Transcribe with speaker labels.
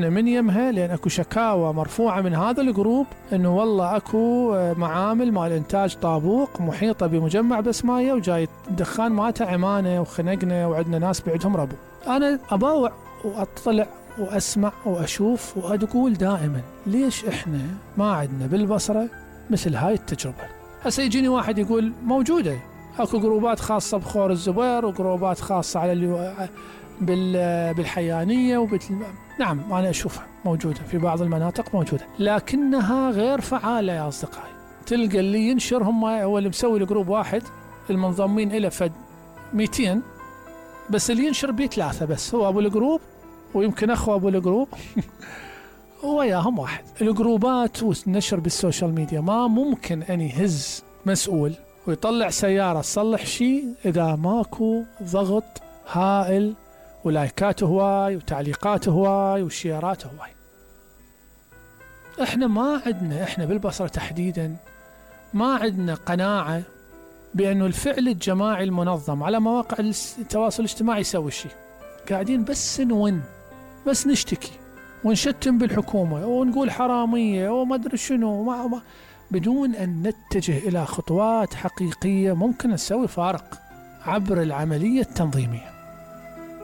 Speaker 1: اللجنة من يمها، لأن أكو شكاوى مرفوعة من هذا الجروب أنه والله أكو معامل مال إنتاج طابوق محيطة بمجمع بسماية وجاي الدخان مالته عمانة وخنقنا وعندنا ناس بعدهم ربو. أنا أباوع وأطلع وأسمع وأشوف وأقول دائما ليش إحنا ما عندنا بالبصرة مثل هاي التجربة؟ هسه يجيني واحد يقول موجودة، أكو جروبات خاصة بخور الزبير وجروبات خاصة على بالحيانية نعم أنا أشوفها موجودة في بعض المناطق موجودة، لكنها غير فعالة يا أصدقائي. تلقى اللي ينشر هو اللي مسوي الجروب واحد، المنضمين إلى فد 200، بس اللي ينشر بيه 3 بس، هو أبو الجروب ويمكن أخو أبو الجروب وياهم واحد. الجروبات والنشر بالسوشيال ميديا ما ممكن أن يهز مسؤول ويطلع سيارة تصلح شيء إذا ماكو ضغط هائل ولايكات هواي وتعليقات هواي وشيرات هواي. احنا ما عندنا، احنا بالبصرة تحديدا ما عندنا قناعة بأنه الفعل الجماعي المنظم على مواقع التواصل الاجتماعي يسوي الشيء. قاعدين بس بس نشتكي ونشتم بالحكومة ونقول حرامية وما أدري شنو، بدون أن نتجه إلى خطوات حقيقية ممكن نسوي فارق عبر العملية التنظيمية.